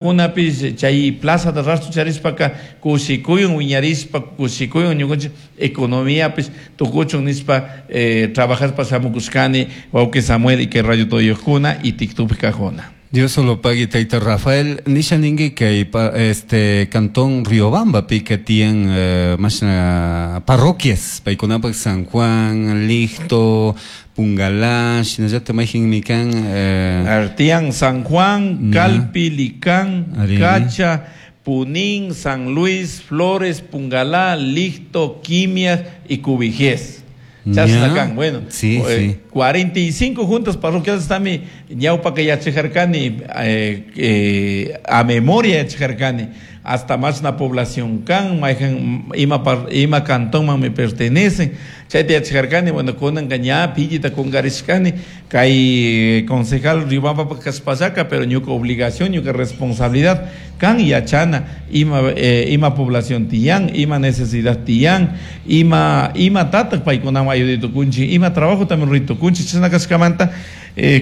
Kunapish chay plazata rashtu charishpaka kushikuyun wiñarishpa kushikuyun ñukanchik economiapish tukuchun nishpa trabajashpa shamukushkani wawki Samuel y kay radio toyojkuna y TikTokpi kajuna. Dios solo pagui tayta Rafael, nisha ningui kay este cantón Riobambapika tiyan mashna parroquias paykunapak San Juan, Licto, Pungalá, shinallatak mayjinmi kan Tiyan San Juan, Calpi, Licán, Cacha, Punín, San Luis, Flores, Pungalá, Licto, Quimias y Cubijíes. Chashna kan, bueno, 45 juntas parroquiales tami ñawpaka yachajarkani a memoria yachajarkani hasta mashna población kan, mayjan ima ima cantonman me pertenecen, chayta yachajarkani, bueno, kunanka ña pillita kunkarishkani kay concejal Riobamba kashpallaka, pero ñuka obligación, ñuka responsabilidad kan yachana ima ima población tiyan, ima necesidad tiyan, ima imatatak paykunaman ayuday tukunchik, ima trabajo también ruray tukunchik, chashna kashkamanta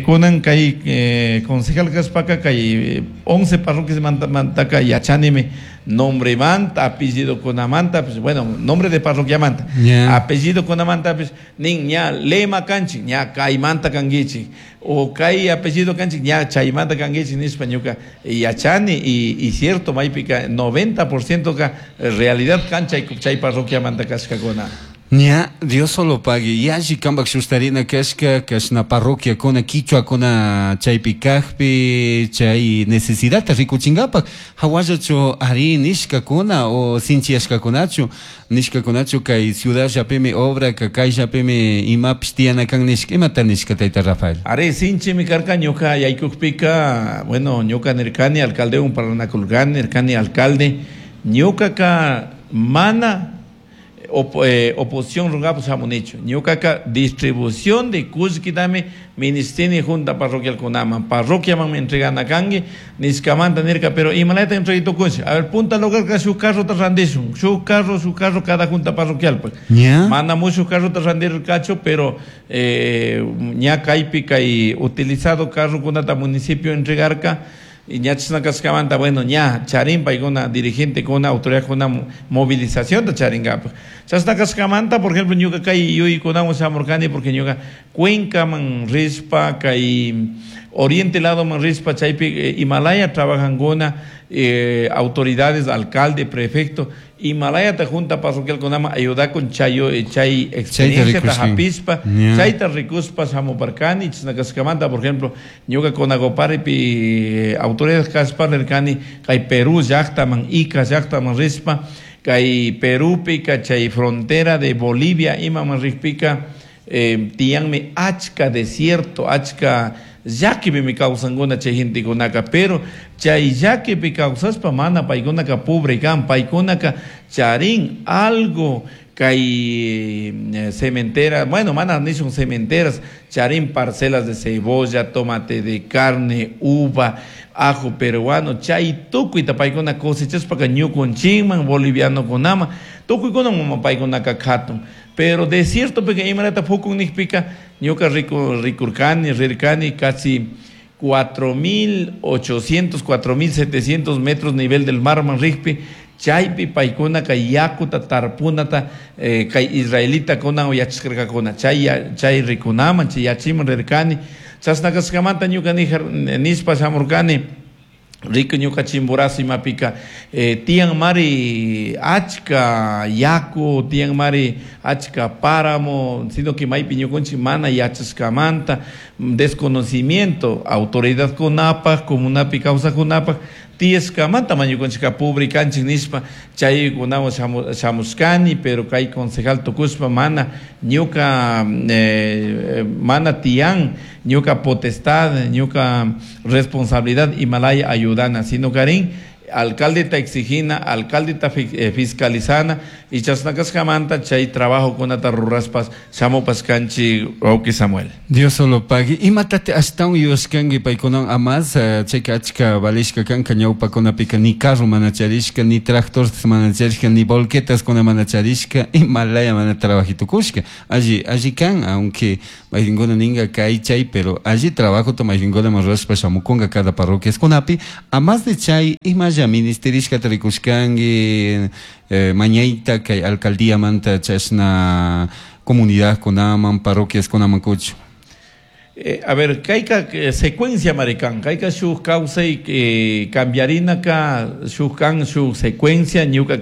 kunan kay concejal kashpaka kay 11 parroquias mantaka yachanimi nombremanta, apellido kunamanta, pues, bueno, nombre de parroquiamanta, apellido kunamanta, pues, nin ña lema kanchik, ña kaymanta kankichik, o kay apellido kanchik, ña chaymanta kankichik nishpa ñuka yachani y cierto maypika 90% ka realidad kan chay chay parroquiamanta kashkakuna. Ña, Dios solo pagui, yalli kampak shustarina kashka, kashna parroquiakuna, quichuakuna chaypi kajpi, chay necesidadta rikuchinkapak, hawallachu ari nishkakuna o sinchiyashkakunachu, nishkakunachu kay ciudadllapimi obraka, kayllapimi imapish tiyana kan nishka, imata nishka tayta Rafael? Ari, sinchimi karka ñuka yaykukpika, bueno, ñuka nirkani alcaldewan parlanakurkani, nirkani alcalde, ñukaka mana oposición rungapas shamunichu, ñukaka distribución de kullkitami ministini junta parroquial kunaman, parroquiaman entregana kanki nishkamanta nirka, pero imalayta entregay tukunchik, a ver, punta lugarka shuk carrota randishun, shuk carro, shuk carro cada junta parroquial pues. Mana mucho carrota randirkachu, pero ña kaypi kay utilizado carro kunata municipio entregarka, y ña chashna kashkamanta, bueno, ña charin paykuna dirigente kuna autoridad kuna movilización ta charinkapak. Chashna kashkamanta, por ejemplo, ñuka kay yuyaykunawan shamurkani, porque ñuka Cuencaman rishpa, kay oriente lado man rishpa, chaypi Himalaya trabajankuna autoridades, alcalde, prefecto, Himalayata junta parroquial kunaman ayudakun chay chay experiencia ta hapishpa, chayta rikushpa shamuparkani, chashna kashkamanta, por ejemplo, ñuka Conagoparipi autoridades kashpa nirkani kay Perú llaktaman, Ica llaktaman rishpa, kay Perúpika chay frontera de Bolivia imaman rikpika, tiyanmi achka desierto, achka llakipimi kawsankuna chay gentekunaka, pero chay llakipi kawsashpa mana paykunaka pobre kan, paykunaka charin algo kay cementera, bueno, mana nishun cementeras, charin parcelas de cebolla, tomate de carne, uva, ajo peruano, chay tukuyta paykuna cosechashpaka ñukunchikman, bolivianokunaman, tukuykunaman paykunaka katun. Pero desierto pika imarata pukun nikpika, ñuka rikurkani, rirkani, casi 4.800, 4.700 metros nivel del mar man rikpi, chaypi paykunaka yakuta tarpunata kay israelita kuna yachashkarkakuna, chay chay rikunaman, chay yachiman rirkani, chashna kashkamanta ñuka nishpa shamurkani, riku ñuka Chimborazo imapika tiyan mari achka yaku, tiyan mari achka páramo, sino que maypi ñukunchik mana yachashkamanta, desconocimiento, autoridad kunapak, comunapi kawsakkunapak, tiyashkamanta ma ñukunchikka pobre kanchik nishpa chaykunawan shamushkani, pero kay concejal tukushpa mana ñuka mana tiyan ñuka potestad, ñuka responsabilidad imalaya ayudana, sino karin Alcalde ta exigina, alcalde ta fiscalizana y chasnakashkamanta chay trabajo kunata ruraspas shamupas kanchi wawki Samuel. Dios solo pagui. Imatate ashtawan yuyashkanki paykunawan amas chayka achka valishka kanka ñawpakunapika ni carro mana charishka, ni tractor mana charishka, ni volquetas kuna mana charishka, imalaya mana trabajitukushka. Alli, alli kan, aunque mayqinkuna ninka kay chay, pero alli trabajota mayqinkuna rurashpa shamukunka cada parroquiaskunapi. Amas de chay imalla ministerishkata rikushkanki mañayta kay alcaldíamanta chashna comunidad kunaman, parroquias kunaman kuchu. A ver, kayka secuencia marican, kayka shuk kawsay cambiarinaka shuk kan shuk secuencia ñuka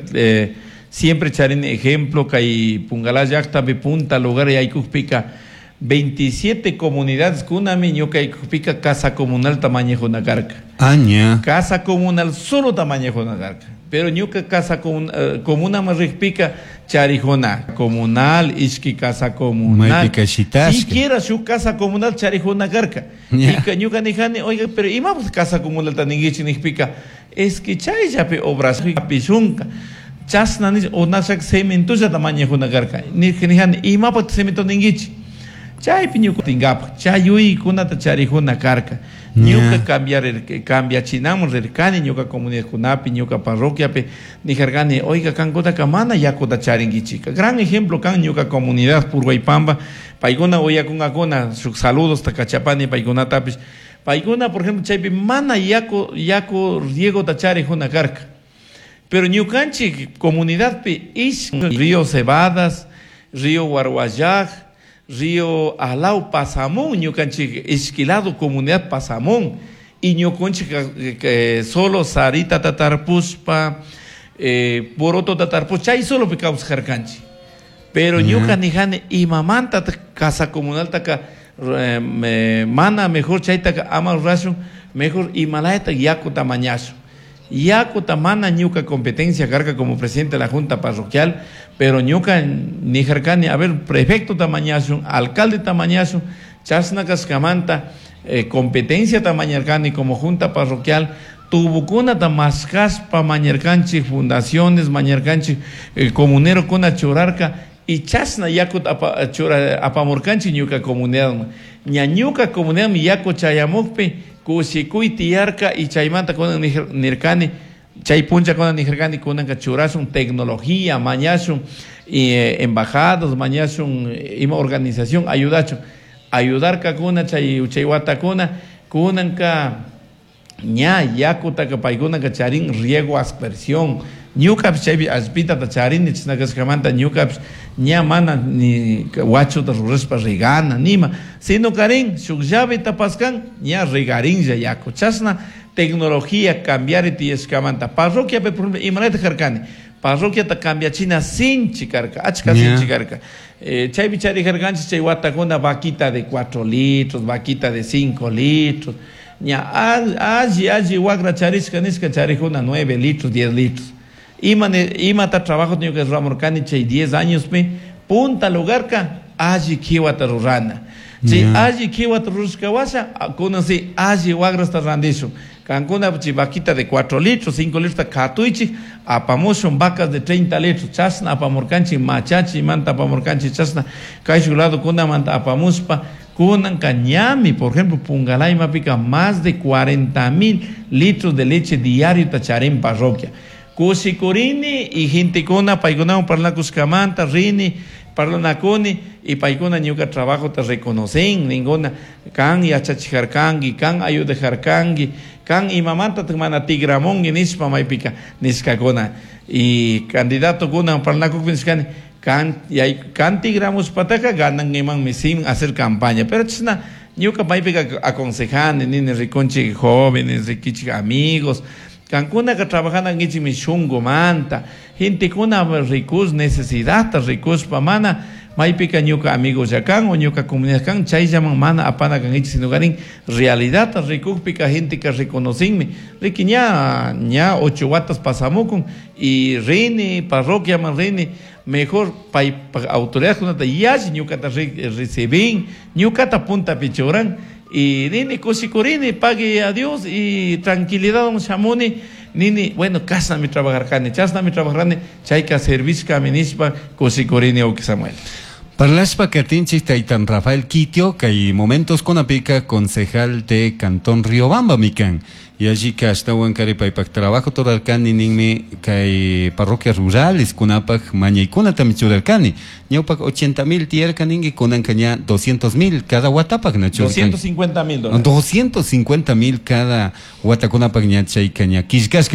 siempre charini ejemplo kay Pungalá llaqtapi punta lugar yaykukpika 27 comunidades kunami ñuka yaykukpika casa comunal tamañejuna karka. Aña. Casa comunal solo tamañejuna karka. Pero ñuka casa comuna rikpika charijuna comunal, ishki casa comunal. Maypika shitashka. Siquiera su casa comunal charijuna karka. Yeah. Y ñuka nijani, oiga, pero ima pues casa comunal taningichi nijpika, es que chayllapi obras pishunka. Chasna ni onashak cementolla tamañejuna karka. Nijani, ima pues cemento ningichi. Chaypi ñuka tingapa, chayuy kunata charijuna karka. Ñuka cambiar cambiachinamun rirkani ñuka comunidad kunapi, ñuka parroquiapi, nijarkani, oiga, kankutaka mana yakuta charinkichika. Gran ejemplo kan ñuka comunidad Purhuaypamba, paykuna uyakunkakuna, shuk saludos takachapani paykunatapish. Paykuna, por ejemplo, chaypi mana yaku riegota charijuna karka. Pero ñukanchik comunidadpi ish río Cebadas, río Guarguayaj, río Alau Pasamón, ñukanchik ishkilado comunidad Pasamón, y ñukanchik solo Sarita tatarpuspa, Poroto tatarpus, chay solo picaus jarkanchi. Pero ñuka nijani imamanta casa comunal taka mana mejor chaytaka ama rashun, mejor imalayta yaku tamañashu. Yaku tamana ñuka competencia carga como presidente de la junta parroquial, pero ñuka nijarkani, a ver, prefecto tamañashun, alcalde tamañashun, chasna kaskamanta, competencia tamañarkani como junta parroquial, tubukuna tamascaspa mañarkanchi, fundaciones mañarkanchi, comunero kuna churarka, y chasna yaku chura apamurkanchi ñuka comunidad. Ña ñuka comunidad mi yaku chayamukpi, kushikuy tiyarka y chaymanta kunan nirkani, chay puncha kunan nirkani, kunanka churashun tecnología, mañashun, y embajadas, mañashun, ima organización, ayudachun. Ayudarka kuna, chay chaywata kuna, kunanka ña yakutaka paykunaka charin riego aspersión. Ñukapish chaypi allpitata charini chisnakashkamanta ñukapish ña mana ni wachuta rurashpa regana nima, sino karin shuk llaveta paskan ña regarinlla yaku. Chashna tecnología cambiari tiyashkamanta. Parroquiapi, por ejemplo, imarayta karkani, parroquiata cambiachina sinchi karka, achka sinchi karka. Chaypi charijarkanchik chay watakuna vaquita de 4 litros, vaquita de 5 litros. Ña alli alli wagra charishka nishka charijuna 9 litros, 10 litros. Imata trabajo ñuka ruramurkani chay 10 años pi punta lugarka alli kiwata rurana. Chay alli kiwata rurashka washa kunan si alli wagrasta randishun. Kankuna chay vaquita de 4 litros, 5 litros katuychik apamushun vacas de 30 litros. Chashna apamurkanchik machachi manta apamurkanchik chashna kayshuk lado kunamanta apamushpa kunanka ñami, por ejemplo, Pungalá imapika más de 40,000 litros de leche diario tacharín parroquia. Kushikurini y gentekuna paykunawan parlakushkamanta rini parlanakuni y paykuna ñuka trabajo te reconocen ninguna kan yachachijarkanki kan ayudajarkanki kan imamanta mana tigramonki nishpa maypika nishkakuna y candidato kuna parlakukpi nishkani kan yay kan tigramushpataka ganankimanmi sin hacer campaña pero chashna ñuka maypika aconsejani nini rikunchik jóvenes rikichik amigos Kankunaka trabajanankichikmi shunkumanta, gentekuna rikus necesidadta rikuspa mana maypika ñuka amigos kan o ñuka comunidad kan chayllaman mana apana kankichik sino karin realidadta rikukpika genteka reconocinmi riki ña ña 8 watas pasamukun y rini parroquiaman rini mejor pay autoridadkunata yalli ñukata recibin ñukata puntapi churan y rini kushikurini pague a Dios y tranquilidad shamuni Nini, bueno, kashnami trabajarkani, chashnami trabajarkani, chayka servishkami nishpa kushikurini wawki Samuel. Parlashpa katinchik taytan Rafael Quitio kay momentos kunapika concejal de Cantón Riobamba mikan. Yallika ashtawan kari paypak trabajo rurarkani ninmi kay parroquias rurales kunapak mañaykunatami churarkani. Ñawpak 80 mil tiyarka ninki kunanka ña 200 mil cada watapak na churarkani. 250 mil dólares. 250 mil cada watakunapak ña chayka ña killkashka.